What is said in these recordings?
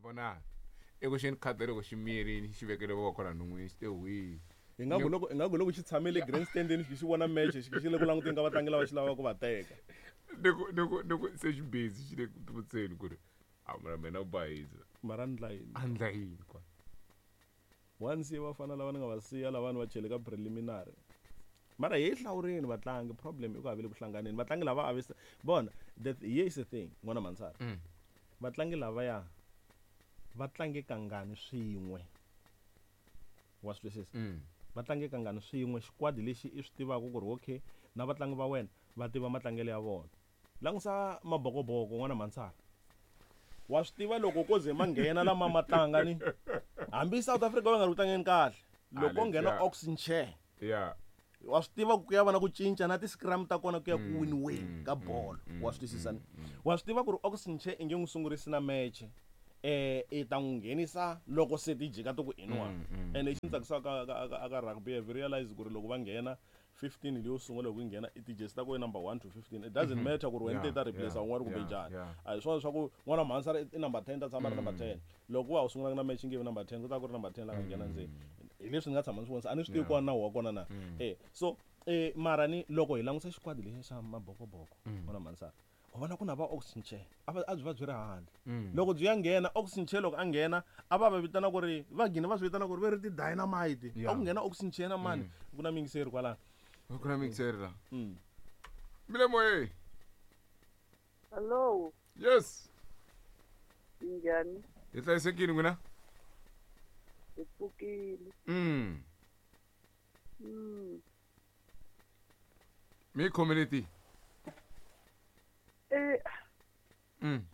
Vona eku xeni khadi loko xi miyerini xi vekele voko la non'wini xi te hwii. Ingaku loko ingaku loko xi tshame le grandstandini xi xi vona match xi xi le ku languteni ka vatlangi lava xi lavaka ku va teka. Ni ku ni ku ni ku se xi busy xi le ku tivutiseni ku ri a mara mina u bayiza. Mara a ndla yini? A ndla yini kwala? Wa ni siya vafana lava ni nga va siya lavani va chele ka preliminary. Mara hi hlawurini vatlangi problem i ku a va le ku hlanganeni vatlangi lava a va vona the here is the thing n'wana Mhansara. Vatlangi lavaya va tlange kangani swin'we wa swi twisisa va tlange kangani swin'we xikwadi lexi i swi tivaka ku ri okay na vatlangi va wena va tiva matlangelo ya vona langusa mabokoboko n'wana Mhansara wa swi tiva loko ko ze ma nghena lama ma tlanga ni hambi South Africa va nga ri ku tlangeni kahle loko ko nghena Ox Nche ya wa swi tiva ku ya va na ku cinca na ti-scrum ta kona ku ya ku winiweni ka bolo wa swi twisisa ni wa swi tiva ku ri Ox Nche i nge n'wi sungurisi na match i ta n'wi nghenisa loko se ti jika ti ku inwa ene lexi ni tsakisaka ka ka ka rugby have realize ku ri loko va nghena 15 leyo sungula loko yi nghena i ti-jersey ta ku number 1 to 15 it doesn't matter ku ri wena ti ta replace un'wana kumbe njhani a hi swona swa ku n'wana mhansara i number 10 ta tshama ri number 10 loko wa ha sungulanga na match nge vi number 10 ku ta ku ri number 10 la nga nghena ndzeni hi leswi ni nga tshama ni swi vonisa a ni swi tivi kona nawu wa kona na so mara ni loko hi langusa xikwadi lexi xa mabokoboko n'wana mhansara u vona ku na va Ox Nche a va a byi va byi ri handle loko byi ya nghena Ox Nche loko a nghena a va va vitana ku ri va gina va swi vitana ku ri ve ri ti-dynamite a ku nghena Ox Nche na mani ku na miyingiseri kwalano ku na miyingiseri la mi le moyeni. Hello. Yes. Minjhani? Hi hlayisekile n'wina? Hi pfukile. Mi yi khomele ti?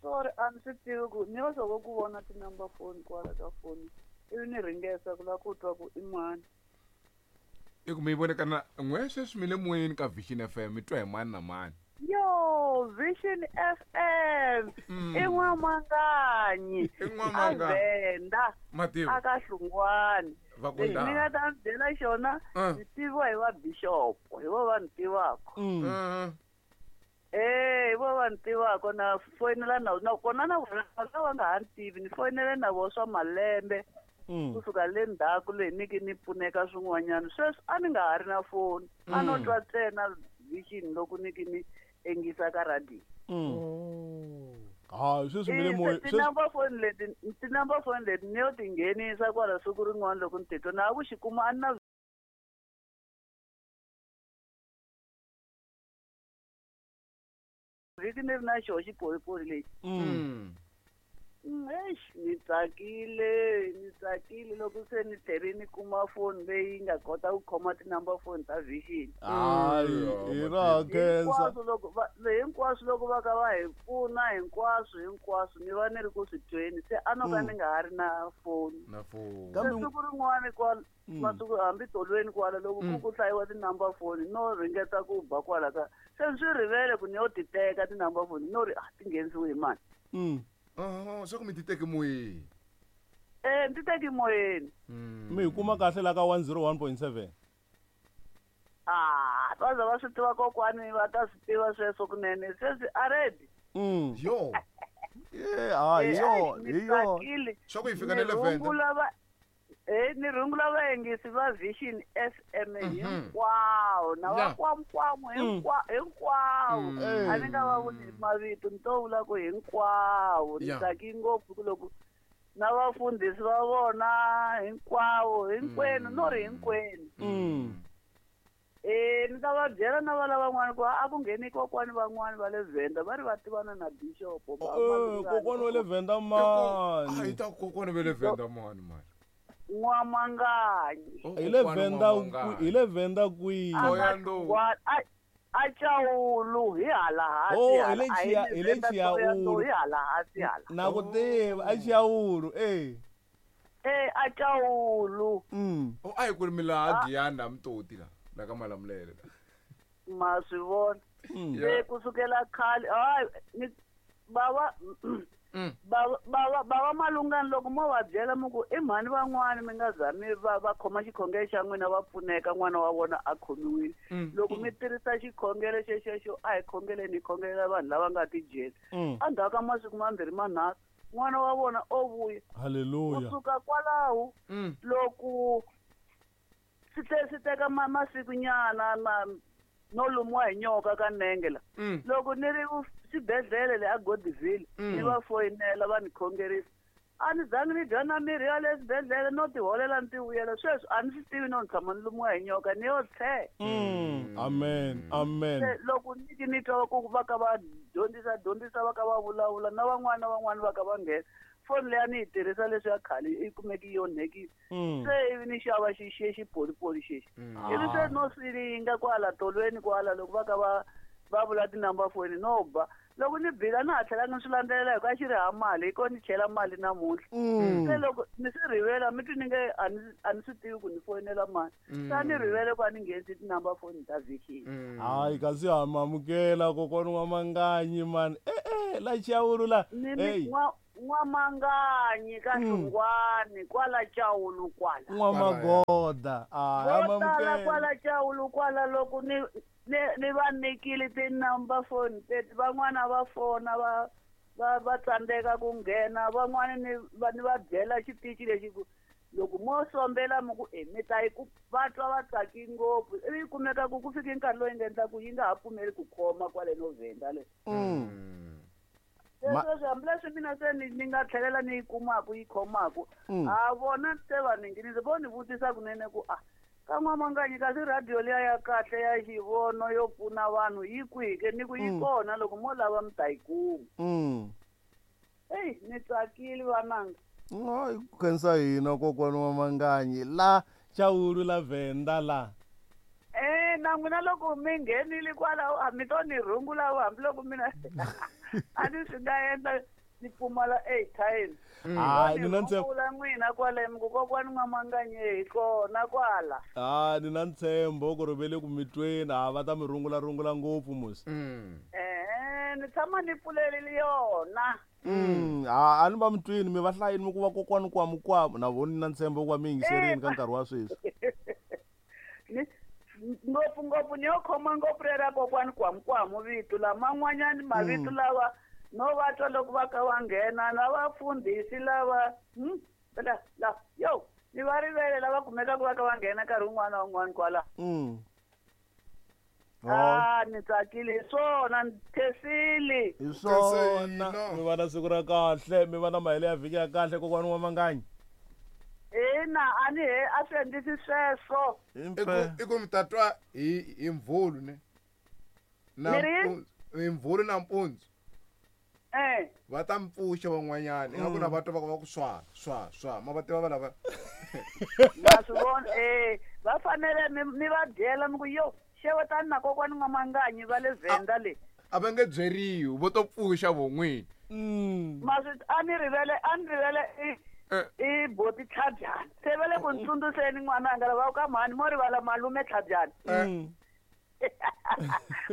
Sorry, a ni swi tivi ku ni yo soko ku vona ti-number phone kwala ka foni ivi ni ringesa ku lava ku twa ku i mani. I ku mi yi vone ka na n'we sweswi mi le moyeni ka Vision FM mi twa hi mani na mani. Yo, Vision FM i N'wamanganyi I N'wamanganyi. a Venda Mativa. a ka Hlungwani. Va ku Lexi ndhawu. ni nga ta mi byela xona ni tiviwa hi va bishop hi vo va ni tivaka. Hi vo va ni tivaka na foyinela na na kona na vona va nga ha ni tivi ni foyinele na vona swa malembe kusuka le ndzhaku leyi ni ki ni pfuneka swin'wanyana sweswi a ni nga ha ri na foni a no twa ntsena Vision loko ni ki ni engisa ka radio. Hayi sweswi mi le moyeni Ti-number phone leti ti-number phone leti ni yo ti nghenisa kwala siku rin'wana loko ni titwa na ku xi kuma a ni na vhiki ni ri na xoho xipolipoli lexi. Eish, ni tsakile ni tsakile loko se ni tlhele ni kuma foni leyi nga kota ku khoma ti-number phone ta Vision. Hayi hi ra khensa. Hinkwaswo loko va hinkwaswo loko va ka va hi pfuna hinkwaswo hinkwaswo ni va ni ri ku swi tweni se a no ka ni nga ha ri na foni. Na foni. Se siku rin'wana kwala masiku hambi tolweni kwala loko ku ku hlayiwa ti-number phone no ringeta ku ba kwala ka se ni swi rivele ku ni yo ti teka ti-number phone no ri a ti nghenisiwi hi mani. Swa ku mi ti teke moyeni. Ni ti teki moyeni. Mi hi kuma kahle la ka 101.7. Ah, va za va swi tiva kokwani va ta swi tiva sweswo kunene sweswi a ready. Yo. Yeah, hi yo, hi yo. Swa ku hi fika na le Venda. Ni rungula vayengisi va Vision FM hinkwawo na va kwamkwamu hinkwawo. A ni nga va vuli mavito ni to vula ku hinkwawo ni tsaki ngopfu ku loko na vafundhisi va vona hinkwavo hinkwenu no ri hinkwenu. Ni ta va byela na va lavan'wana ku a ku ngheni kokwani van'wani va le Venda va ri va tivana na bishop. Kokwani wa le Venda mani. A yi ta kokwani va le Venda mani mani. N'wamanganyi. Hi le Venda hi le Venda kwihi? A Chawulu hi hala hansi. Oh, hi le hi le Chawulu. Hi hala hansi hala. Na ku tiva a Chawulu A Chawulu. Oh, a hi ku ri mi laha Giyani la Mutoti la la ka Malamulele la. Ma swi vona. Se kusukela khale ni bava bava malungani loko mo va byela mi ku i mhani van'wani mi nga zami va khoma xikhongelo xa n'wina va pfuneka n'wana wa vona a khomiwile. Loko mi tirhisa xikhongelo xexexo a hi khongeleni hi khongelela vanhu lava nga tidyeli. Endzhaku ka masiku mambirhi manharhu N'wana wa vona o vuya. Halleluya. Kusuka kwalaho loko swi tlhe swi teka masiku nyana no lumiwa hi nyoka ka nenge la. Loko ni ri xibedhlele le a Godiville ni va foyinela va ni khongerisa. A ni zangi ni dya na mirhi ya le xibedhlele no tiholela ni ti vuyela. Sweswi a ni swi tivi no ni tshama ni lumiwa hi nyoka ni yo tlhe. Amen. Amen. Loko ni ni twa ku va ka va dyondzisa va ka va vulavula na van'wana va ka va nghena. Foni leyi a ni yi tirhisa leswi ya khale yi kumeki yi onhekile. Se ivi ni xava xipolipoli xexi. Ivi se no silinga kwala tolweni kwala loko va ka va vula tinumber phone no ba. Loko ni bila na ha tlhelanga ni swi landzelela hi ku a xi ri ha mali hi ko ni chela mali namuntlha. Se loko ni swi rivela mi twi ni nge a ni swi tivi ku ni foyinela mali. Se a ni rivele ku a ni nghenisi tinumber phone ta vhiki. Hayi kasi ha mamukela kokwana wa Manganyi mani. La Chawulu la. N'wamanganyi ka Hlungwani kwala Chawulu kwala. N'wamagoda. Ha mamukela. Kwala Chawulu kwala loko ni ni va nyikile ti-number phone teti van'wana va fona va tsandzeka ku nghena van'wana ni va byela xitichi lexi ku loko mo sombela mi ku mi ta yi ku va twa va tsaki ngopfu ivi yi kumeka ku fike nkarhi lowu yi nga endla ku yi nga ha pfumeli ku khoma kwale Novenda le. Sweswi hambileswi mina se ni nga tlhelela ni yi kumaku yi khomaku a vona se va ni nghenisa vo ni vutisa kunene ku a ka N'wamanganyi kasi radio liya ya kahle ya xivono yo pfuna vanhu yi kwihi ke ni ku yi kona loko mo lava mi ta yi kuma. Eyi ni tsakile vananga. Hayi ku khensa hina kokwana wa Manganyi la Chawulu la Venda la. Na n'wina loko mi nghenile kwalaho a mi to ni rhungula hambiloko mina a ni swi nga endla ni pfumala airtime. Hayi ni na ntshembo n'wina kwale mi ku kokwani N'wamanganyi hi kona kwala. Ni na ntshembo ku ri ve le ku mi tweni a va ta mi rungula ngopfu musi. Ni tshama ni pfulelile yona. A ni va mi twini mi va hlayini mi ku va kokwani kwamukwamu na vona ni na ntshembo ku va mi yingiserini ka nkarhi wa sweswi. Ngopfu ngopfu ni yo khoma ngopfu rera kokwani kwamukwamu vito laman'wanyani mavito lawa no va twa loko va ka va nghena na vafundhisi lava la yo ni va rivele lava kumekaka va ka va nghena nkarhi wun'wana na wun'wana kwala. Ni tsakile hi swona ni khensile. Hi swona mi va na siku ra kahle mi va na mahelo ya vhiki ya kahle kokwana wa Manganyi. Ina a ni he a swi endlisi sweswo. I ku mi ta twa hi mvulu ne. Na hi mvulu na mpundzu. Va ta mpfuxa van'wanyana ingaku na va twa va ku swa swa swa ma va tiva va lava. Ma swi vona va fanele mi va byela mi ku yo xewetani na kokwani N'wamanganyi va le Venda le. A va nge byeriwi vo to pfuxa von'wini. Ma swi a ni rivele i boti Tlhabyana. Se va le ku ntsundzuxeni n'wananga lava ka mhani mo rivala malume Tlhabyana.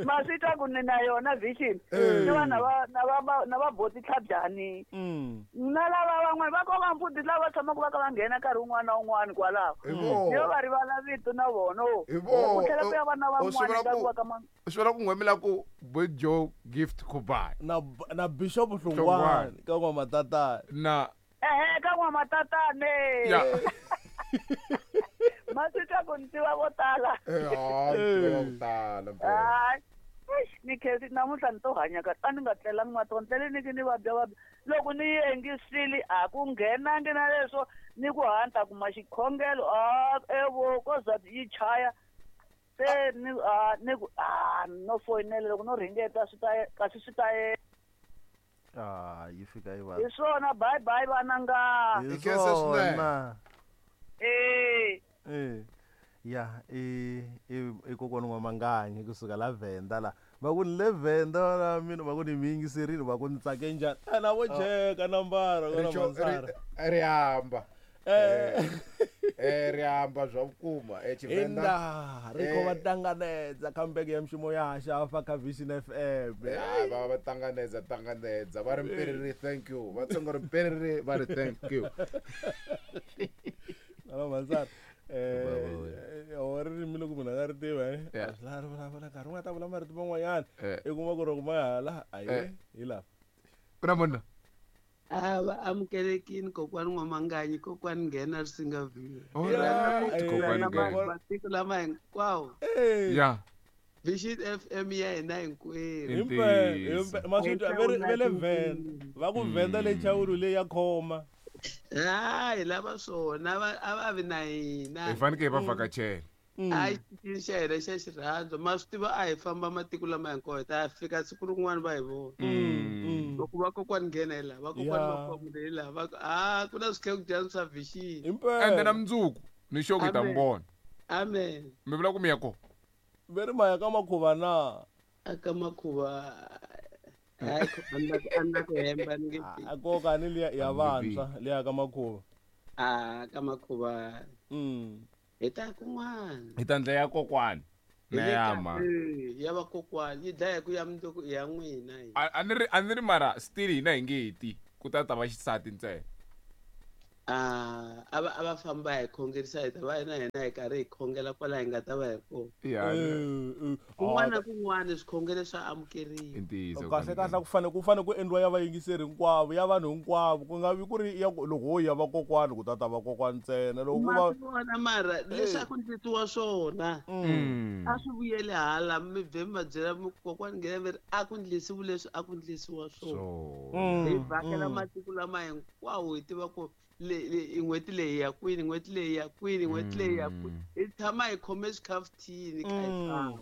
Ma swi twa ku ni na yona vision. Ni va na va boti Tlhabyani. Na lava van'wana va ko va mfundhisi lava tshamaka va ka va nghena nkarhi wun'wana na wun'wana kwalaho. Yo va rivala vito na vona. Ku tlhela ku ya va na van'wana ka va ka swi vula ku nghwemela ku Bojo Gift Kubai na Bishop Hlongwane ka N'wamatatana. Na ka N'wamatatane. Ma swi twa ku ni tiva vo tala. Tiva vo tala mpela. Ni khensi namuntlha ni to hanya kahle a ni nga tlelangi matiko ni tlele ni ki ni vabya. Loko ni yi engisile a ku nghenangi na leswo ni ku hanta kuma xikhongelo evo ko za yi chaya. Se ni ni ku no foyinela loko no ringeta swi ta kasi swi ta yi fika yi va. Hi swona bye bye vananga. Hi swona. Ya i kokwana wa Manganyi kusuka la Venda la. Va ku ni le Venda la mina va ku ni mi yingiserile va ku ni tsake njhani. Na vo cheka nambara ka Mansara. Ri hamba. Ri hamba zwa vhukuma Tshivenda. Inda ri khou vha ṱanganedza kha mbeke ya mishumo ya hashu hafha kha Vision FM. Va va ṱanganedza va ri mpiriri thank you. Va tsonga ri mpiriri va ri thank you. Hello Mansara. O ririmi loko munhu a nga ri tivi a swi lavi ri vulavula nkarhi wun'wana ta vula marito man'wanyana i kuma ku ri loko ma hala ayi hi laha ku na munhu. A va amukelekini kokwani N'wamanganyi, kokwani Nghena Risinga View. Alright, kokwani Nghena. Matiko lama hinkwawo. Ya. Vision FM ya hina hinkwerhu. Himpela, maswitwa ve le Venda. Va ku Venda le chawulu leyi ya khoma. Hayi lava swona a va vi na hina. Hi fanekele hi va vhakachela. A xitichini xa hina xa xirhandzu ma swi tiva a hi famba matiko lama hinkwawo hi ta fika siku rin'wana va hi vona. Loko va kokwani Nghena hi laha, va kokwani Makwamule hi laha, va ku a ku na swikhekudyana swa Vision. Ende na mundzuku ni sure ku hi ta mi vona. Amen. Mi vula ku mi ya kona? Ve ri ma ya ka makhuva na? A ka makhuva hayi a ni la ku hemba ni nge A koka ni liya ya vantshwa liya ka makhuva. A ka makhuva. Hi ta kun'wana. Hi ta ndlela ya kokwani na ya ma. Ya va kokwani yi dlaya ku ya mundzuku ya n'wina. A ni ri mara still hina hi nge ti ku ta ta va xisati ntsena. A va famba hi khongerisa hi ta va na hina hi karhi hi khongela kwala hi nga ta va hi kona. Kun'wana na kun'wana swikhongelo swa amukeriwa. Kahle kahle ku fanele ku endliwa ya vayingiseri hinkwavo, ya vanhu hinkwavo, ku nga vi ku ri ya loko ho ya vakokwani ku ta ta vakokwani ntsena loko ku va vona mara leswaku ndletiwa swona. A swi vuyele hala mi vhe mi va byela mi kokwani Nghena mi ri a ku ndlisiwi leswi a ku ndlisiwa swona. Hi vhakela matiko lama hinkwawo hi tiva ku n'hweti leyi ya kwini, n'hweti leyi ya kwini, n'hweti leyi ya kwini. Hi tshama hi khome swikhafuthini kha hi famba.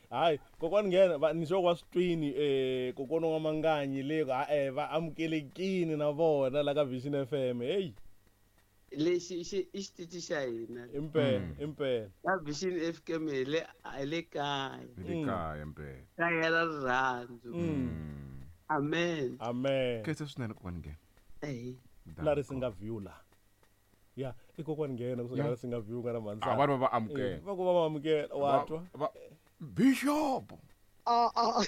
Hayi kokwani Nghena ni sure wa swi twini kokwani wa Manganyi le va amukelekini na vona la ka Vision FM. Hey lexi i xitichi xa hina. Impela, impela. Ka Vision FM hi le kaya. Hi le kaya impela. Kaya ra rirhandzu. Amen. Amen. Khetsa swinene kokwani Nghena. Eh. La Risinga View la. Ya, i kokwani Nghena kusuka la Risinga View nga na mhandzana. A va va amukela. Va ku va amukela wa twa. Bishop. A a.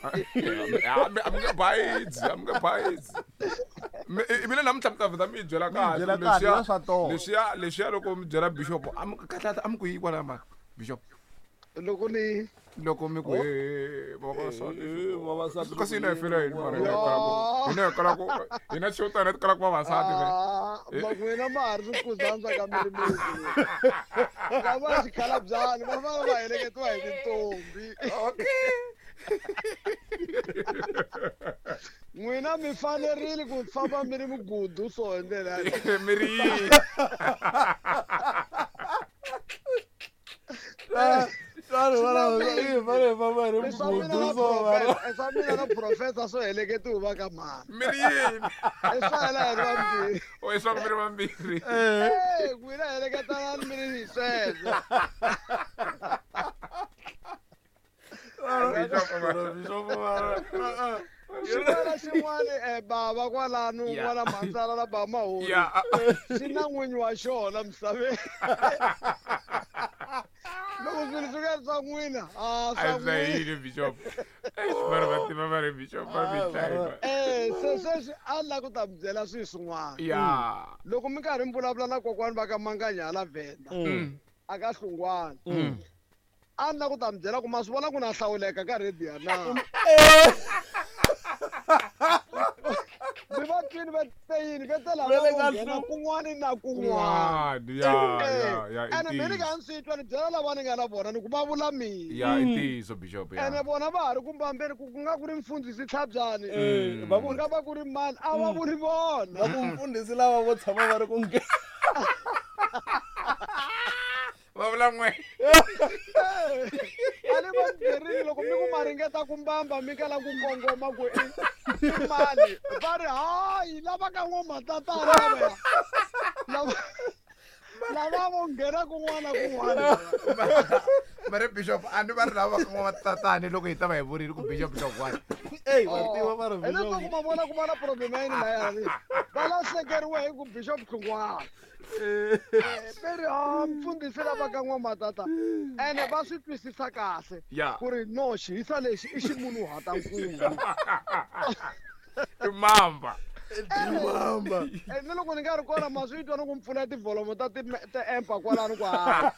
A mi nge bayidzi, a mi nge bayidzi. Mina namuntlha mi ta vheta mi byela kahle leswiya leswiya loko mi byela bishop a mi kahle a mi ku yi kwala mara bishop. Loko ni loko mi ku vavasati kasi hina hi fela yini mara hina hi kala ku hina xo tana hi kala ku vavasati ve n'wina ma ha ri swikuzandza ka mirimiri lava xikhalabyani va fana va heleketiwa hi tintombi. Okay. N'wina mi fanerile ku famba mi ri migudu so hi ndlela yaleyo. Mi ri yini? Swa mina na professor swo heleketiwa va ka mhani. Mi ri yini? I swa hina hi ri vambirhi. O i swa mi ri vambirhi. N'wina heleketanani mi ri sweswo. Xin'wana xin'wana bava kwalano n'wana mhandzana na bava Mahori xi na n'winyi wa xona misaveni. Loko swilo swi nga ri swa n'wina a swa n'wina bishop. Mara va tiva va ri bishop va mi dlaya. Se sweswi a ni lava ku ta mi byela swilo swin'wana. Loko mi karhi mi vulavula na kokwani va ka Manganya hala Venda a ka Hlungwana. A ni lava ku ta mi byela ku ma swi vona ku na hlawuleka ka radio na. Mi va twini va te yini va te lava ku nghena kun'wana na kun'wana. Ya Ene mina ni nga ni swi twa ni byela lava ni nga na vona ni ku va vula mina. Ya i ntiyiso bishop ya. Ene vona va ha ri ku mbambeni ku ku nga ku ri mfundhisi Tlhabyani. Ku nga va ku ri mani a va vuri vona. Va ku mfundhisi lava vo tshama va ri ku nghena. Va vula n'we. A ni va byerile loko mi ku ma ringeta ku mbamba mi kala ku kongoma ku i mani va ri hayi lava ka n'wamatatana lava lava vo nghena kun'wana kun'wana. Mara bishop a ni va ri lava ka n'wamatatana loko hi ta va hi vurile ku bishop Hlongwane. Ey va tiva va ri bishop. Hileswaku ma vona ku va na problem ya yini laya va lahlekeriwe hi ku bishop Hlongwane. Veri ha mfundhisi lava ka n'wamatata ene va swi twisisa kahle ku ri no xihisa lexi i ximunhuhatankulu. I mamba. Mamba. Ni loko ni nga ri kona ma swi twa ni ku mpfula tivholomo ta ti-empa kwalano ku hala.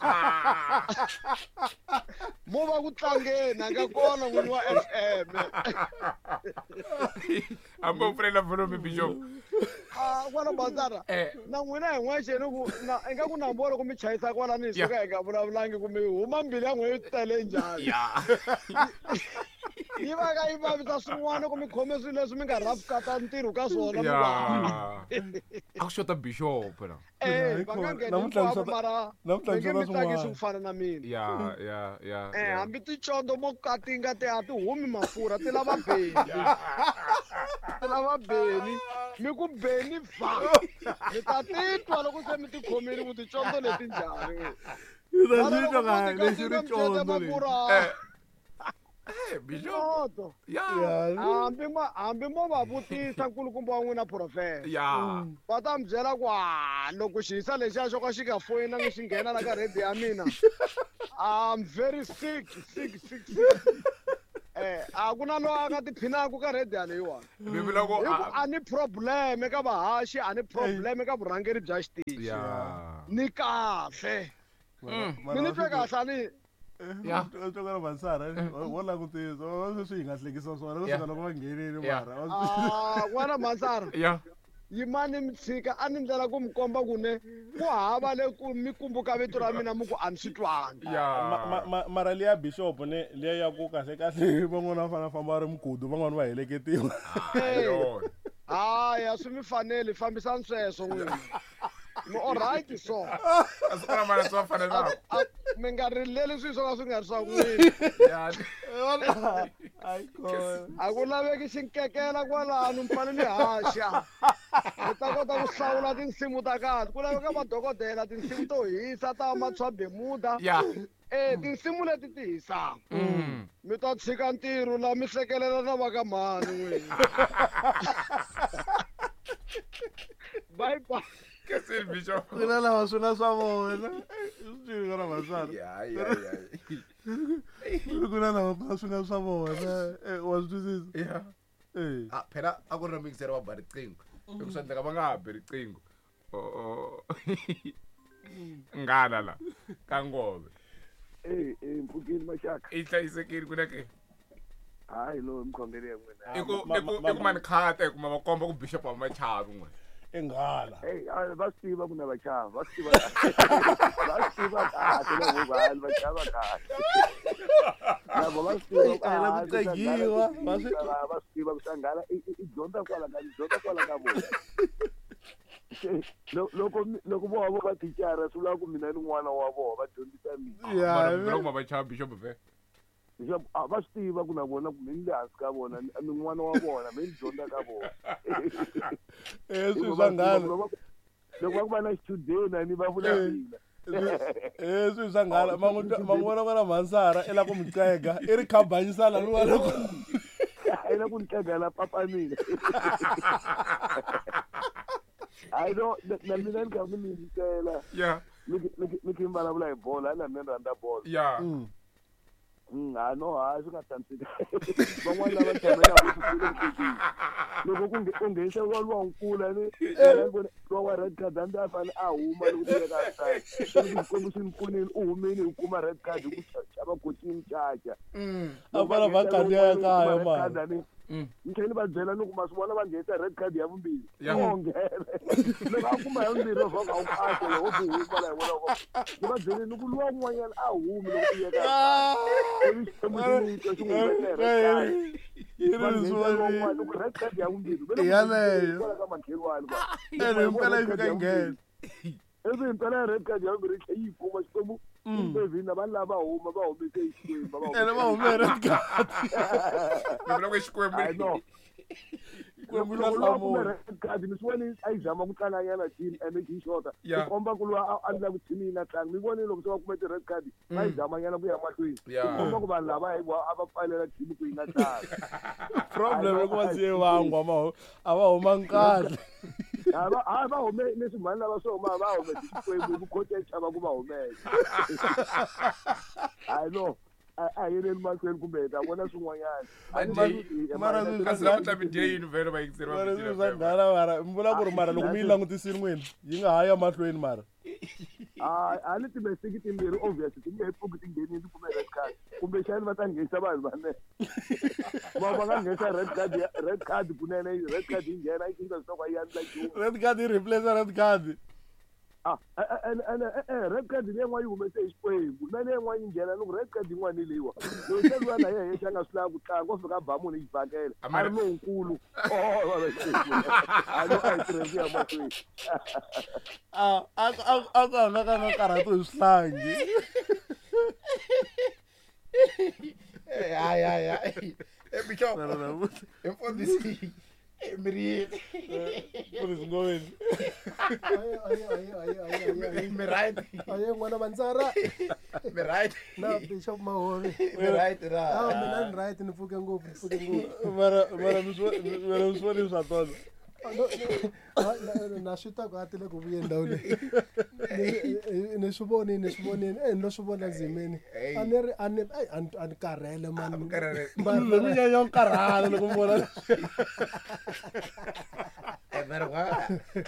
Mo va ku tlangeni a nga kona n'wini wa FM. Hambi u pfulela volume Bishop. Ah, kwala Bazara. Na n'wina hi n'wexe ni ku na ingaku nambu loko mi chayisa kwalano hi suka hi nga vulavulangi ku mi huma mbilu ya n'wina yi tele njhani. Yi va ka yi vavisa swin'wana ku mi khome swilo leswi mi nga rhafukata ntirho ka swona mi va. A ku xota Bishop la. Eh, va nga ngheni hinkwavo mara mi nge mi tsakisi ku fana na mina. Ya ya ya. Eh, hambi ticondo mo katinga ti a ti humi mafurha ti lava beni. Ti lava beni. Mi ku beni va. Mi ta titwa loko se mi ti khomile ku ticondo leti njhani. Yi ta titwa ka lexi ri condo lexi. Eh, Bishop. Ya. Hambi ma hambi mo va vutisa nkulukumba wa n'wina profeta. Ya. Va ta mi byela ku ah loko xihisa lexiya xo ka xi nga foyinangi xi nghena la ka radio ya mina. I'm very sick, sick, sick, sick. Eh, a ku na loyi a nga tiphinaku ka radio leyiwani. Mi vula ku Hi ku a ni problem eka vahaxi, a ni problem eka vurhangeri bya xitichi. Ya. Ni kahle. Mi ni twe kahle a ni Ya. Tokana Vansara, wo langutisa, sweswi hi nga hlekisa swona, Ya. kusuka loko va nghenile Ya. mara. Ah, n'wana Mansara. Ya. Yimani mi tshika a ni ndlela ku mi komba ku ne ku hava le ku mi kumbuka vito ra mina mi ku a ni swi twangi. Ya. Mara liya Bishop ne liya ya ku kahle kahle van'wana va fanele famba va ri migudu van'wana va heleketiwa. Yona. Hayi a swi mi faneli fambisani sweswo n'wina. Mi all right so. A swi kona mara swi va fanelaka. Mi nga rileli swilo swo ka swi nga ri swa n'wina. Ya. A ku laveki xinkekela kwalano mi fanele mi haxa. Mi ta kota ku hlawula tinsimu ta kahle. Ku laveka madokodela tinsimu to hisa ta Matshwa Bermuda. Ya. Eh, tinsimu leti ti hisaka. Mi ta tshika ntirho la mi hlekelela na va ka mhani n'wina. Bye bye. Kesini Bishop. Ku na lava swi nga swa vona. Swi twile n'wana Vansara. Ya ya ya. Ku na lava swi nga swa vona. Eh, wa swi twisisa? Ya. Eh. Ah, phela a ku ri na mixer va ba riqingho. Hi ku swi endleka va nga ha bi riqingho. Oh. Nghala la ka ngove. Eh, eh, mpfukini maxaka. I hlayisekile ku na ke. Hayi lo mkhongeli ya n'wina. I ku i ku i ku mani khata hi kuma va komba ku Bishop a va chavi n'we. I nghala. Hey, va swi tiva ku na va chava, va swi tiva kahle. Va swi tiva kahle lavo vanhu va chava kahle. Lavo va swi tiva A hi la ku tsegiwa, va swi- va swi tiva ku sanghala i dyondza kwala ka dyondza kwala ka vona. Loko loko vo vo va thicara swi vula ku mina ni n'wana wa vona va dyondzisa mina. Ya. Mara loko va chava Bishop ve. Leswaku a va swi tiva ku na vona ku mi ni le hansi ka vona ni n'wana wa vona mi ni dyondza ka vona. Eh, swi swa nghala. Loko va ku va na xichudeni a ni va vula mina. Eh, swi swa nghala. Ma n'wi twa- ma n'wi vona n'wana Mansara i la ku mi qega, i ri khabanyisana luwa loko A yi la ku ni qega la papa mina. Hayi no, na mina ni karhi ni yingisela. Ya. Mi mi khe mi vulavula hi bolo, hayi na mina ni rhandza bolo. Ya. Ha no, ha swi nga tshamiseki. Van'wana lava tshamelaka ku loko ku u nghenisa luwa luwa nkulu ni luwa wa red card hambi a fanele a huma loko ti veka outside. Xikwembu xi ni pfunile u humile u kuma red card hi ku chava coaching caca. A fana va khandziya ya kaya mara. Ni tlhela ni va byela ni ku ma swi vona va nghenisa red card ya vumbirhi. Ya. O nghena. Loko a kuma ya vumbirhi va ka u kahle loko u huma la hi vona ku ni va byele ni ku luwa un'wanyana a humi loko ti yeka outside. Ivi Xikwembu xi n'wi twa xi n'wi humesa hi red card. Yi ri Va leswi nghenisa luwa un'wana loko red card ya vumbirhi va le ku Yaleyo. kwala ka makhelwani kwa. Ene himpela yi fika yi nghena. Ivi himpela red card ya vumbirhi yi tlhela yi kuma Xikwembu xi na vanhu lava huma va humese hi Xikwembu va Ene va hume red card. Mi vula ku i Xikwembu. Hayi no. Xikwembu xa Loko luwa kume hlamula. red card mi swi voni a yi zama ku tlanga nyana team ene yi xota. Ya. Ku komba ku luwa a endla ku team yi nga tlangi. Mi vonile loko se va kume ti-red card va yi zama nyana ku ya mahlweni. Ya. Ku komba ku vanhu lava hi a va pfalela team ku yi nga tlangi. Problem i ku va siye vangwa ma a va humangi kahle. A va a va hume leswi mhani lava swi huma va hume Xikwembu hi ku coach a yi chava ku va humesa. Hayi no. A yeleni mahlweni kumbe hi ta vona swin'wanyana. Mara mara mi vula ku ri mara loko mi yi langutisile n'wina yi nga ha ya mahlweni mara. A ni timestiki timbirhi obviously ti nge he pfuki ti nghenile kumbe red card kumbexani va ta nghenisa vanhu vane va nga nghenisa red card red card kunene red card yi nghena yi cinca leswaku a yi endla nchumu red card yi replace red card. Red card leyi yin'wana yi humese hi Xikwembu na leyi yin'wana yi nghena loko red card yin'wana leyiwa loko se luya na yehe xa nga swi lavi ku tlanga u fika a ba munhu yi xibakele a ri lonkulu a no a yi tirhisi ya mahlweni a a ku hanga ka nga karhati hi swihlangi. Hayi hayi hayi bishop mfundhisi miri mfundhisi Ngoveni mi right aye n'wana Mantsara mi right na Bishop Mahori mi right ra mina ni right ni pfuke ngopfu mara mara mi swi voni swa tona na swi twa ku a tile ku vuye ndhawu leyi ni swi vonini ni lo swi vona ndzimeni a ni ri a ni a ni karhele mani mi nyanya ku karhala loko mi vona mara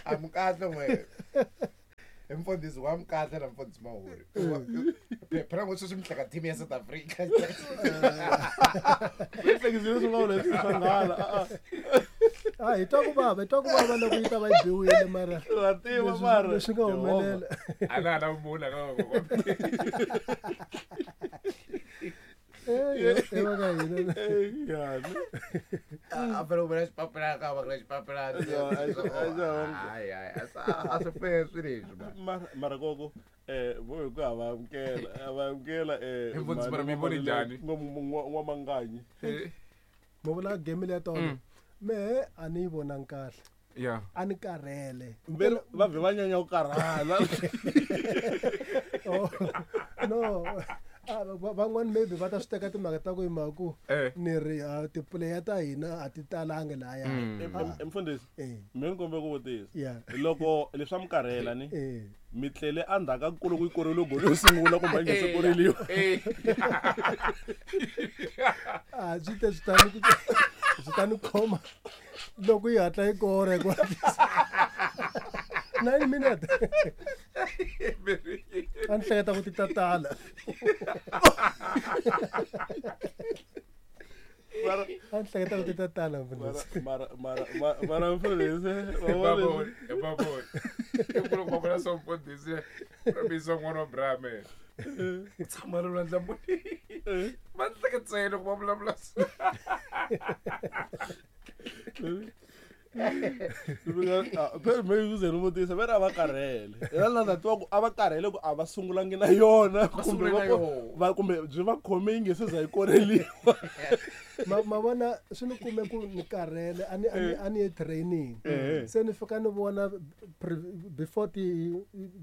a mi kahle n'we i mfundhisi wa mi kahle na mfundhisi Mahori phela ngo sweswi mi hleka team ya South Africa mi hlekisile swi nga vula leswi swa nghala a hi twa ku vava loko yi ta va yi biwile mara wa tiva mara leswi nga humelela a na na mula ka a fanele ku vula xipapilana ka va ku xipapilana a swi fair swi leswi mara koko vo hi ku a va amukela mfundhisi mi voni njhani n'wamanganyi mi vula game leya tona mehe a ni yi vonangi kahle yeah a ni karhele va vhe va nyanya ku karhala no van'wani maybe va ta swi teka timhaka ta ku hi mhaka ku ni ri tipuleya ta hina a ti talangi lahaya mfundhisi mi ni kombe ku vutisa loko leswi a mi karhela ni mi tlele endzhaku ka loko yi korile goli yo sungula kumbe a yi nga se koreliwa a swi te swi ta ni khoma loko yi hatla yi kora hi ku hatlisa 9 minutes a ni hleketa ku ti ta tala a ni hleketa ku ti ta tala mara mfundhisi mfundhisi ramisa n'wana wa Brahme tshama ri lwandla muni va hleketsele loko va vulavula muvutisa ve ri a va karhele ela twa ku a va karhele ku a va sungulangi na yona kumbe byi va khome yi nge se za yi koreliwa ma vona swi ni kume ku ni karhele a ni ye training se ni fika ni vona before ti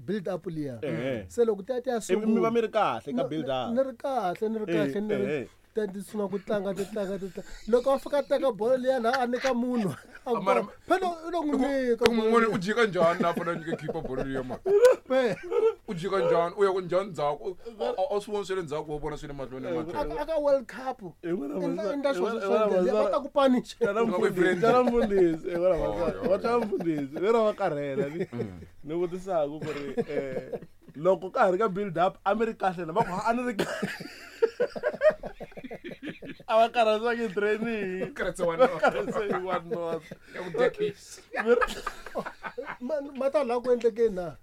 build up liya se loko ti ya ti ya sungula mi va mi ri kahle ka build up ni ri kahle ni ri ti sungula ku tlanga ti tlanga loko a fika teka bolo liya laha a nyika munhu phela u lo n'wi nyika munhu u jika njhani laha fanele a nyike khipa bolo liya mani u jika njhani u ya ku njhani ndzhaku a swi voni swi le ndzhaku wa vona swi le mahlweni aka World Cup endla swona swa va ta ku punish tana mfundhisi va tana mfundhisi vero va karhela ni vutisaka ku ri loko ka ha ri ka build up a mi ri kahle na va ku a ni ri kahle a va karhatiwanga training ma ta laha ku endlekeni na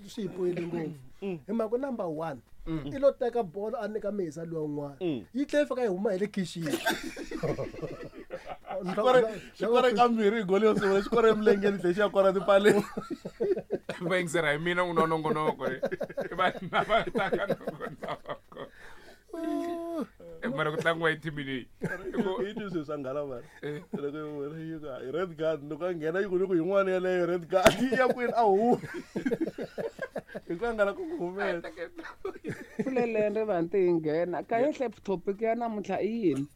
swi hi poyile ngopfu hi mhaka number 1 i lo teka bolo a nyika misa luwa un'wana yi tlhela yi fika yi huma hi le khixini xikore kambirhi hi goli yo sungula xikore emilengeni tlhe xi ya kora tipaleni va yingisela hi mina n'wina nongonoko va va taka nongonoko mara ku tlangiwa hi team leyi yi twi swilo swa nghala mara loko yi vona yi ku hi red card loko a nghena yi ku ni ku yin'wana yeleyo red card yi ya kwini a huma hi ku angala ku humesa pfuleleni rivanti yi nghena kayehle topic ya namuntlha i yini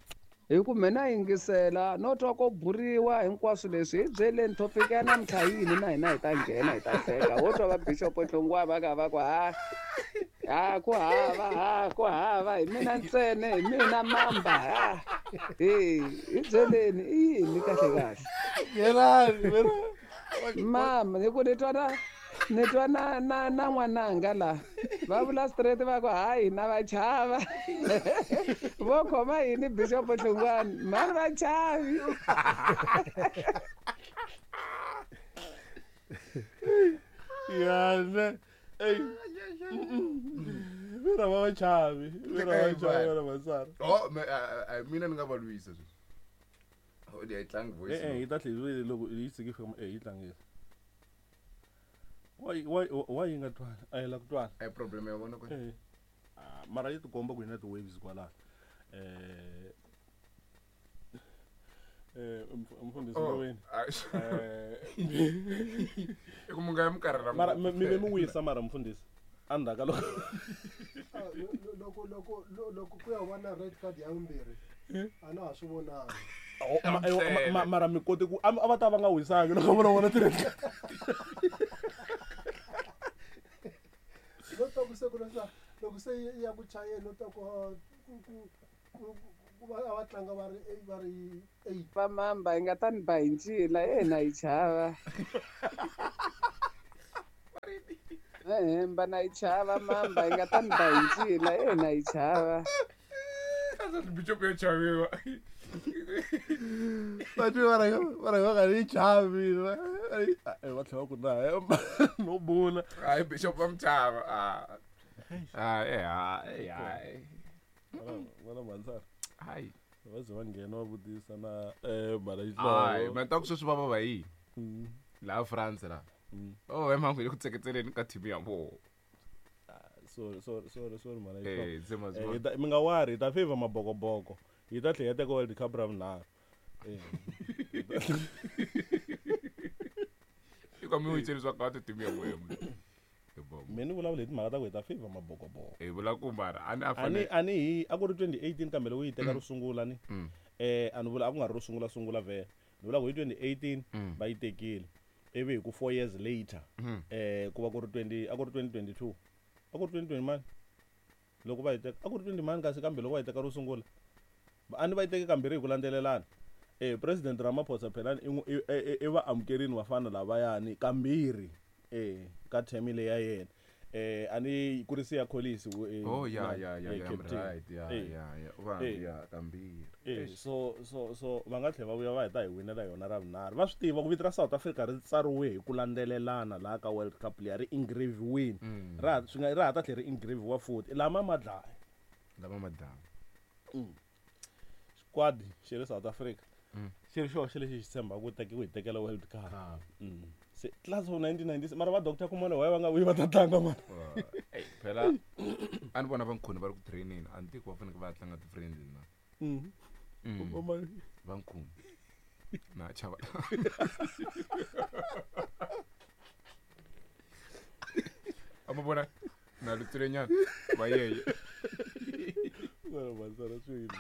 hi ku mina yingisela no twa ko buriwa hinkwaswo leswi hi byeleni topic ya namuntlha yini na hina hi ta nghena hi ta hleka wo twa va bishop Hlongwa va ka va ku ha Ha ku hava, ha ku hava, hi mina ntsena, hi mina mamba. Ha. Hey, hi byeleni i yini kahle kahle? Yelani, Mama, hi ku ni twa na ni twa na na na n'wananga la. Va vula straight va ku hayi na va chava. Vo khoma yini Bishop Hlungwani? Mani va chavi. Yana. Ey. Vera va va chavi. Vera va chavi vana Masara. Oh, a mina ni nga va lwisa sweswi. Oh, yi tlangi voice. Eh, yi ta tlhela loko yi tshiki fika eh yi tlangisa. Why yi nga twali? A yi la ku twala. A problem ya vona ku. Eh. Mara yi tikomba ku yi na ti-waves kwalano. Mfundhisi Mboweni. I ku munga ya minkarhi ra Mara mi ve mi wisa mara mfundhisi. Endzhaku ka loko loko ku ya va na red card ya vumbirhi a na ha swi vonangi. Mara mi kote ku a va ta va nga wisangi loko vona vona ti-red card. No twa ku se ku loko se ya ku chayeni no twa ku ku va a va tlanga va ri 8. Va mamba yi nga ta ni ba hi ncila yena yi chava. Hemba na yi chava mamba yi nga ta ni ba hi ncila yena yi chava. Bishop ya chaviwa. Batho ba re ba ga yi chavi. Va tlhela ku na no bula. Hayi Bishop va mi chava. Ah. Ah, eh, ah, Vana Mansara. Hayi. Va ze va nghena va vutisa na mara yi Hayi, ma ta ku sweswi va va va yini? Laha France la. Oh, hi mhangu yi le ku tseketseleni ka team ya vona. Sorry, sorry, sorry, sorry mara Eh, se ma mi nga wari hi ta favor mabokoboko. Hi ta tlhela teka World Cup ra vunharhu. Eh. I ka mi wiceli swa ka team ya vona. Me ni vulavula hi timhaka ta ku hi ta favor mabokoboko. Hi vula ku mara a ni a fanele ani hi a ku ri 2018 kambe loko yi teka ro sungula ni. A ni vula a ku nga ri ro sungula sungula vhele. Ni vula ku hi 2018 va yi tekile. Ivi hi ku 4 years later ku va ku ri 20 a ku ri 2022. A ku ri 2020 mani. Loko va yi teka a ku ri 20 mani kasi kambe loko va yi teka ro sungula. A ni va yi teke kambirhi hi ku landzelelana. President Ramaphosa phela i va amukerini vafana lavayani kambirhi ka term leyi ya yena. A ni ku ri Siya Kolisi Oh, ya, ya, ya, ya, right, ya, ya, ya, va ya kambirhi. So va nga tlhela va vuya va heta hi winela yona ra vunharhu. Va swi tiva ku vito ra South Africa ri tsariwe hi ku landzelelana laha ka World Cup liya ri engraviwini. Ra swi nga ra ha ta tlhela ri engraviwa futhi. Lama ma dlaya. Lama ma dlaya. Squad xi ri South Africa. Xi ri xoxe lexi xi tshembaka ku teka ku hi tekela World Cup. Se class of 1996 mara va Dr. Khumalo why va nga vuyi va ta tlanga mara. Phela a ni vona va Nkhuni va ri ku training a ni tivi ku va fanekele va ya tlanga ti-friendly na. Va Nkhuni. Na chava. A ma vona na lutswile nyana va yeye. Mara Masara swi yini?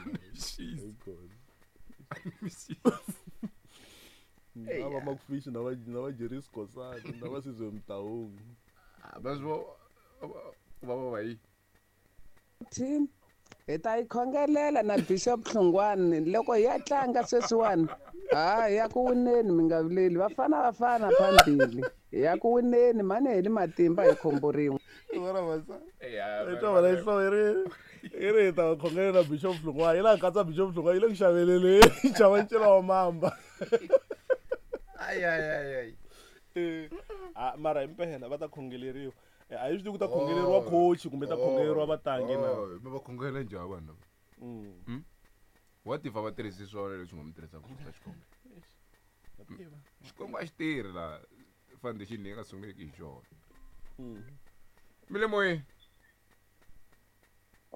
Na va Macfish na va Jerry Skhosana na va Sizwe Mtaung. Va swi va va yi. Team hi ta yi khongelela na Bishop Hlungwani loko hi ya tlanga sweswiwani. Ha ya ku wineni mi nga vileli vafana vafana phambili. Ya ku wineni mani hi le matimba hi khombo rin'we. Vona Masara. I twa vona nhloko yi ri hi ta khongelela Bishop Hlungwani yi la katsa Bishop Hlungwani yi le ku xaveleleni xava ncila wa mamba. Ay ay ay ay. Mara himpela va ta khongeleriwa. A yi swi tivi ku ta khongeleriwa coach kumbe ta khongeleriwa vatlangi na. Mi va khongelela njhani vanhu lava? What if a va tirhisi swona leswi nga mi tirhisaka ku ka xikhongelo? Xikwembu a xi tirhi laha foundation leyi nga sunguleki hi xona. Mi le moyeni.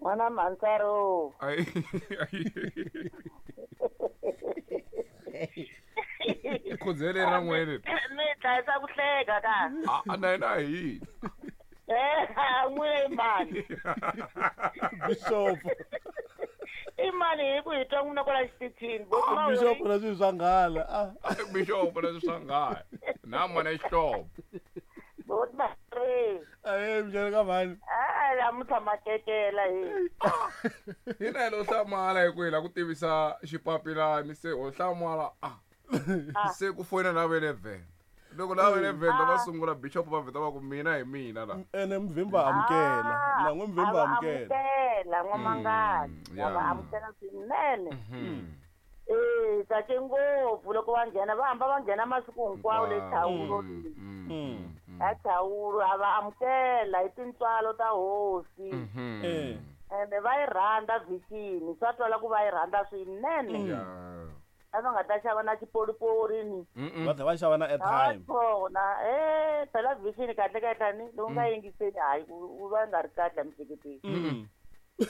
N'wana Mansaro. Ai. Khondzele ra n'wene. Mi dlayisa ku hleka ka. A na yena hi. N'wina i mani? Bishop. I mani hi ku hi twa n'wina kwala xitichini? Bishop na swilo swa nghala. Bishop na swilo swa nghala. Na n'wana xihlovo. Boti Mari. Ahee, minjhani ka mhani? namuntlha matekela hi. Hina hi lo hlamala hi ku hi la ku tivisa xipapilani se ho hlamala a se ku foyina na ve le Venda. Loko lava ve le Venda va sungula bishop va vheta va ku mina hi mina la. Ene mvimba amukela. Na n'we mvimba amukela. Amukela n'wamangani. Va amukela swinene. Tsake ngopfu loko va nghena va hamba va nghena masiku hinkwawo le Chawuro. A Chawuro a va amukela hi tintswalo ta hosi. Ene va yi rhandza Vision, swa twala ku va yi rhandza swinene. A va nga ta xava na xipolipori ni. Va tlhela va xava na airtime. Kona, phela Vision kahle kahle ni lowu nga yingiseli hayi u va nga ri kahle emiehleketweni.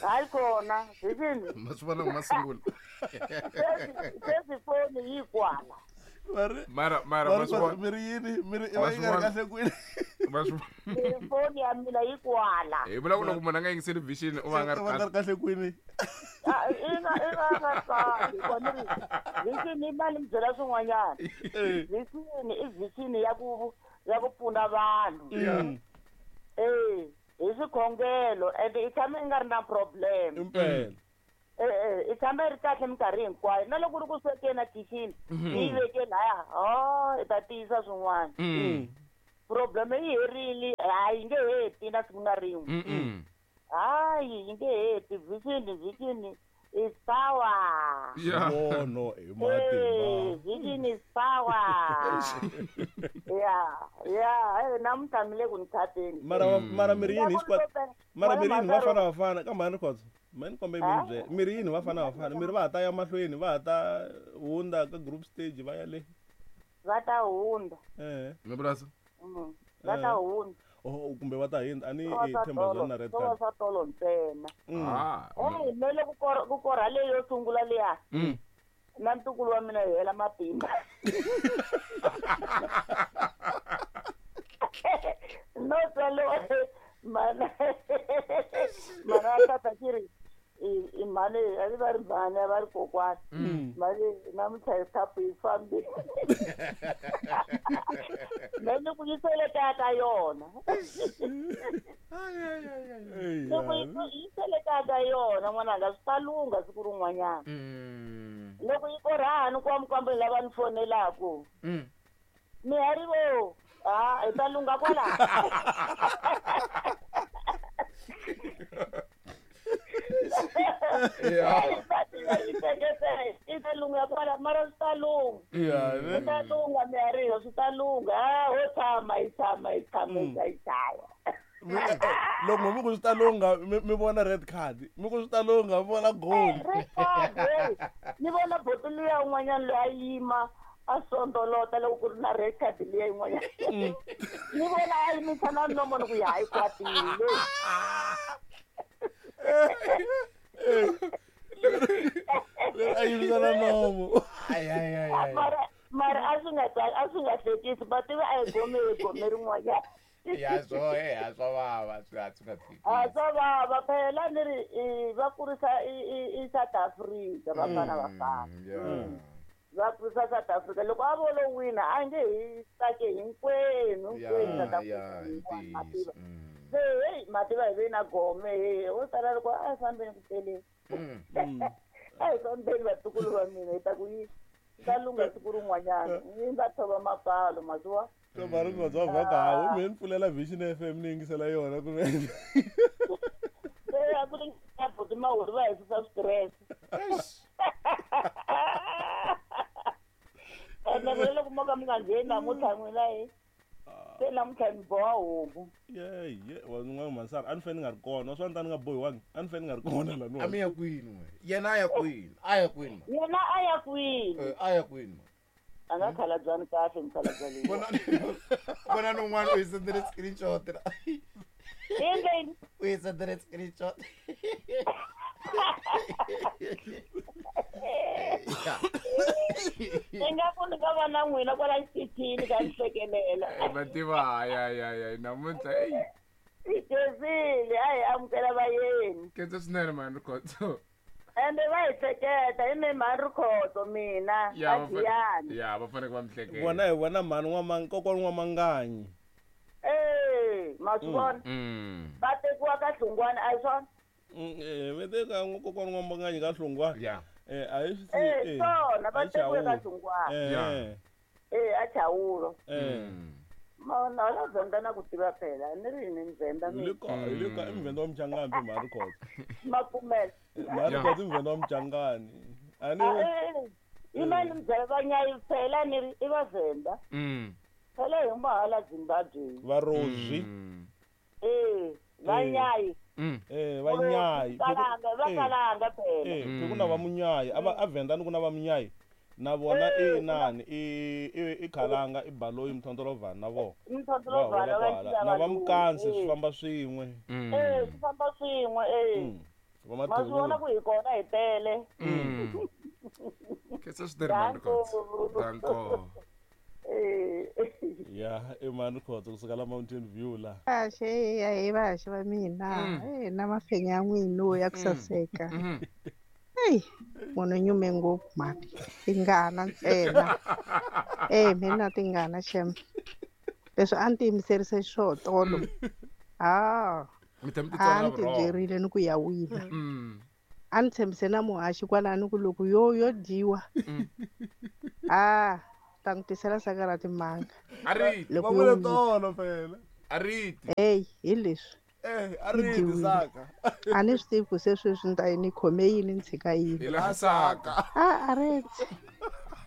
Hayi kona, Vision. Ma swi vona ma sungula. Sweswi foni yi kwala. Mara ma swi vona. Miri yini? Miri i va yi nga ri kahle kwini? Foni ya mina yi kwala. Hi vula ku loko munhu a nga yingiseli Vision u va nga ri kahle kwini? I nga kahle. Vision i mali mi byela swin'wanyana. Vision i Vision ya ku pfuna vanhu. Hi swikhongelo and i tshama i nga ri na problem. Impela. I tshama i ri kahle minkarhi hinkwayo. Na loko u ri ku swekeni ekhixini, yi veke laya, i ta tiyisa swin'wana. Problem yi herile, hayi yi nge heti na siku na rin'we. Hayi yi nge heti. Vision is power. Vono hi matimba. Vision is power. Yeah, namuntlha mi le ku ni khateni. Mara miri yini hi mara miri yini vafana vafana ka mhani Khotso. Mani kombe mi byela. Miri yini vafana vafana? Miri va ha ta ya mahlweni, va ha ta hundza ka group stage va ya le. Va ta hundza. Mi vula so? Va ta hundza. Oh, kumbe va ta hindza ani i Themba Zwane na red card. Swa tolo ntsena. Mele ku korha leyo yo sungula liya. Na ntukulu wa mina hi hela matimba. No tsalo mana tata xi i mhani a va ri mhani a va ri kokwana. Mhani namuntlha hi khapu yi fambile. Mhani ku yisele kaya ka yona. Loko yisele kaya ka yona n'wananga swi ta lungha siku rin'wanyana. Loko yi korhani kwamkwambe lava ni fonelaku. Mihari vo, hi ta lungha kwala. I ta lungha kwala mara swi ta lungha. Swi ta lungha mihari swi ta lungha. Ho tshama hi tshama hi tshama hi tshama. Loko mi ku swi ta lungha mi vona red card, mi ku swi ta lungha mi vona goal. Red card, ni vona bottle ya un'wanyana loyi a yima a sondolota loko ku ri na red card liya yin'wanyana. Ni vona a yimisa na nomo ni ku ya hayi kwatile. A yimisa na nomo. Mara a swi nga hlekisi, va tiva a hi gome rin'wanyana. Ya swo swa vava swi nga hlekisi. Swa vava phela ni ri va kurisa i South Africa vafana vafana. Va kurisa South Africa loko a vo lo wina a nge hi tsake hinkwenu South Africa. Se hey mativa hi ve na gome he ho sala loko a hi fambeni ku peleni. A hi fambeni vatukulu va mina hi ta ku yi ta lungha siku rin'wanyana. Yi nga thova mapfalo masiwa. Mara Khotso va ka ha mi pfulela Vision FM ni yingisela yona kumbe. Se a ku ri buti Mahuri va hisa stress. Ene vele loko mo ka mi nga ngheni namuntlha n'wina hi. Se namuntlha mi boha homu. Ye wa n'wana Mansara a ni fanele ni nga ri kona, swa ni ta ni nga bohiwangi, a ni fanele ni nga ri kona la no. A mi ya kwini n'we? Yena a ya kwini? A ya kwini? Yena a ya kwini? A ya kwini? A nga khalabyani kahle mukhalabya leyi. Vona n'un'wana u yi sendele screenshot. Endleni. U yi sendele screenshot. Ingaku ni nga va na n'wina kwala xitichini ka ni hlekelela. Va tiva hayi namuntlha eyi. I khensile a hi amukela vayeni. Khensa swinene mhani Khotso. Ende va hi hleketa hi me mhani Rikhotso mina a Giyani. Ya va fanele va mi hleketa. Vona hi vona mhani kokwana N'wamanganyi. Ma swi vona? Va tekiwa ka Hlungwani, a hi swona? Va teka kokwani N'wambanganyi ka Hlungwani. Yeah. A hi swi Eh, swona va tekiwe ka Hlungwani. Yeah. Eh, a Chawulo. Ma na la Venda na ku tiva phela, ni ri ni Mvenda mina. Le ka, le ka i Mvenda wa Mchangani phe mhani Rikhotso. Ma pfumela. Mhani Rikhotso i Mvenda wa Mchangani. A ni Yima ni mi byela vanyayi phela ni ri i va Venda. Phela hi huma hala Zimbabwe. Varozvi. Eh, vanyayi. Eh, vanyayi. Kalanga, va kalanga phela. Eh, ku na va munyayi, a va a Venda ni ku na va munyayi. Na vona i nani i i i Khalanga i Baloyi Mthondolovhana na vona. Mthondolovhana Va huma kwala. Na va Mkansi swi famba swin'we. Eh, swi famba swin'we eh. Va Ma swi vona ku hi kona hi tele. Khetsa swinene mhani Rikhotso. Danko. Ya, i mhani Rikhotso kusuka la Mountain View la. Kahle ya hi vahaxi va mina eh na mafenya ya n'wina ya ku saseka. Eyi munhu nyume ngopfu mhani tingana ntsena. Eh mina tingana shem. Leswi a ni tiyimiserise xiswona tolo. Ha. Mi tlhela mi A titsona ni ti vurhongo. byerile ni ku ya wina. A ni tshembise na muhaxi kwalano ku loko yo yo dyiwa. Ah, ta n'wi tisela saka ra timanga. A ri Loko Va yo vule wina. tolo phela. A ri ti. Hey, hi leswi. Eh, a Yi ri ti dyiwile. saka. A ni swi tivi ku se sweswi ni ta yi ni khome yini ni tshika yini. Hi laha saka. Ah, a ri ti.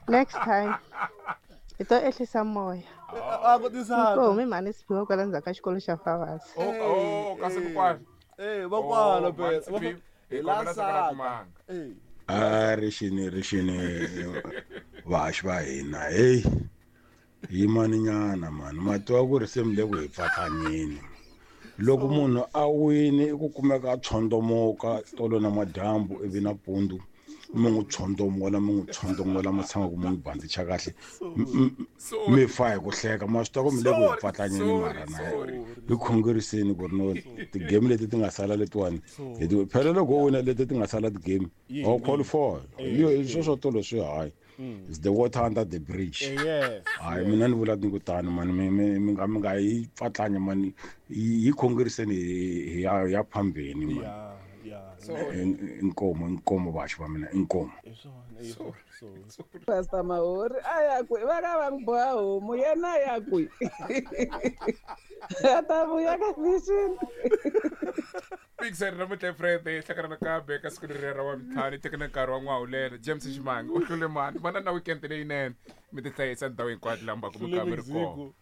Next time. Hi to ehlisa moya. A ku ti saka. Ko humi mhani Siphiwe kwala ndzhaku ka xikolo xa Favasi. Oh, oh, kasi kokwani. Eh, va kwala Oh, phela. mhani Siphiwe, Hi hi la kombela saka ra saka. timanga. Eh. A rixini rixini vahaxi va hina heyi yimani nyana mani ma tiva ku ri se mi le ku hi pfatlanyeni loko munhu a wini i ku kumeka a tshondomoka tolo na madyambu ivi nampundzu mi n'wi tshondomola mi n'wi tshondomola mi tshama ku mi n'wi bandicha kahle mi fa hi ku hleka ma swi tiva ku mi le ku hi pfatlanyeni mara na hi khongeriseni ku ri no ti-game leti ti nga sala letiwani hi ti phela loko wo wina leti ti nga sala ti-game a wu qualify yo sweswo tolo swi hayi is the water under the bridge Yes. hayi mina ni vula ni ku tani mani mi mi mi nga mi nga yi pfatlanya mani hi khongeriseni hi ya ya phambeni mani inkomo inkomo vaxi va mina inkomo Pastor Mahori a ya kwi va ka va n'wi boha homu yena a ya kwi a ta vuya ka vision Pixar namuntlha Friday hlangana nakambe ka siku leriya ra wavuntlhanu yi tekela nkarhi wa n'wahulelo James Ximanga u hlule mani vana na weekend leyinene mi tihlayisa ndhawu hinkwato laha mi va ku mi Hlule ka mi ri kona Mexico.